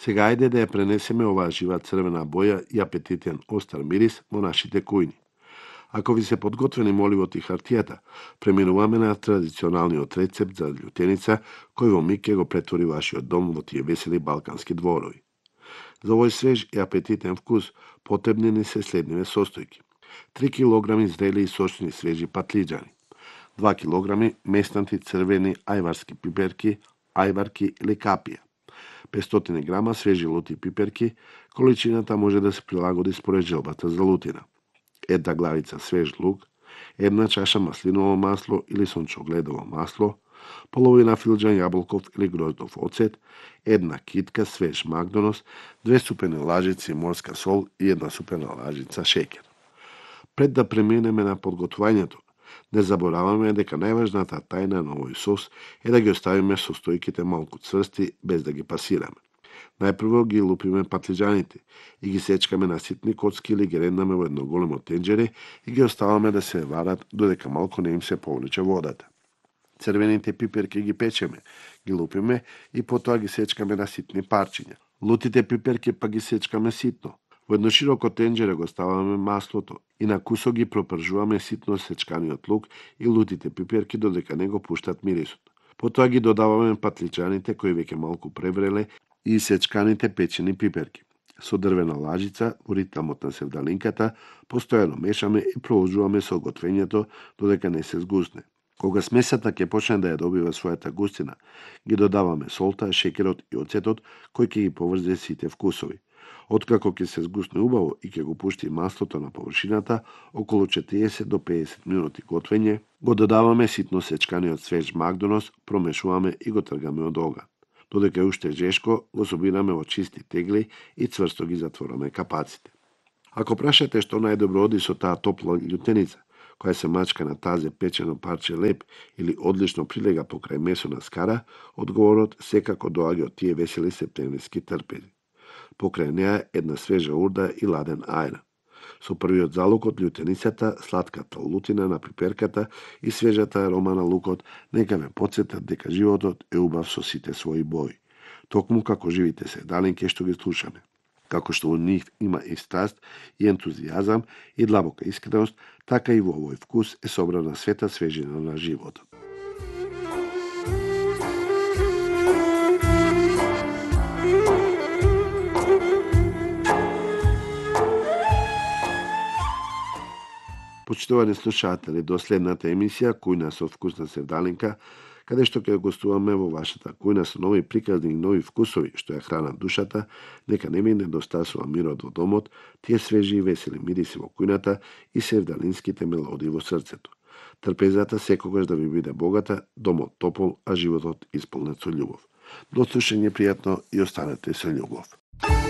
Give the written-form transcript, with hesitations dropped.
Сега ајде да ја пренесеме оваа жива црвена боја и апетитен остар мирис во нашите кујни. Ако ви се подготвени моливот и хартијата, преминуваме на традиционалниот рецепт за љутеница, кој во миг ќе го претвори вашиот дом во тие весели балкански дворови. За овој свеж и апетитен вкус потребни ни се следниве состојки: 3 кг зрели и сочни свежи патлиџани, 2 кг местнати црвени ајварски пиперки, ајварки или капија, 500 грама свежи лути пиперки, количината може да се прилагоди според желбата за лутина, 1 главица свеж лук, 1 чаша маслиново масло или сончогледово масло, половина филџан јаболков или гроздов оцет, 1 китка свеж макдонос, 2 супени лажици морска сол и 1 супена лажица шеќер. Пред да преминеме на подготвувањето, не забораваме дека најважната тајна на овој сос е да ги оставиме состојките малку цврсти без да ги пасираме. Најпрво ги лупиме патлиџаните и ги сечкаме на ситни коцки или ги реднаме во едно големо тенџере и ги оставаме да се варат додека малку не им се повлече водата. Црвените пиперки ги печеме, ги лупиме и потоа ги сечкаме на ситни парчиња. Лутите пиперки па ги сечкаме ситно. Во едно широко тенџере го ставаме маслото и на кусок ги пропржуваме ситно сечканиот лук и лутите пиперки додека не го пуштат мирисот. Потоа ги додаваме патлиџаните кои веќе малку превреле и сечканите печени пиперки. Со дрвена лажица, во ритмот на севдалинката, постојано мешаме и продолжуваме со готвењето додека не се згусне. Кога смесата ќе почне да ја добива својата густина, ги додаваме солта, шеќерот и оцетот кој ќе ги поврзе сите вкусови. Откако ќе се згусне убаво и ќе го пушти маслото на површината, околу 40 до 50 минути готвење, го додаваме ситно сечканиот свеж макдонос, промешуваме и го тргаме од оган. Додека е уште жешко, го собираме во чисти тегли и цврсто ги затвораме капаците. Ако прашате што најдобро оди со таа топла љутеница, која се мачка на тазе печено парче леп или одлично прилега покрај месо на скара, одговорот секако доаѓа од тие весели септемвриски трпези. Покрај неа една свежа урда и ладен ајран. Со првиот залук од љутеницата, сладката лутина на пиперката и свежата арома на лукот нека ве потсетат дека животот е убав со сите своји бои. Токму како живите севдалинки што ги слушаме. Како што во нив има и страст, и ентузијазам, и длабока искреност, така и во овој вкус е собрана света свежина на животот. Почитувани слушатели, до следната емисија Кујна со вкусна севдалинка, каде што ќе гостуваме во вашата кујна со нови приказни и нови вкусови што ја хранат душата, нека не ми недостасува мирот во домот, тие свежи и весели мириси во кујната и севдалинските мелодии во срцето. Трпезата секогаш да ви биде богата, домот топол, а животот исполнет со љубов. До слушање пријатно и останете со љубов.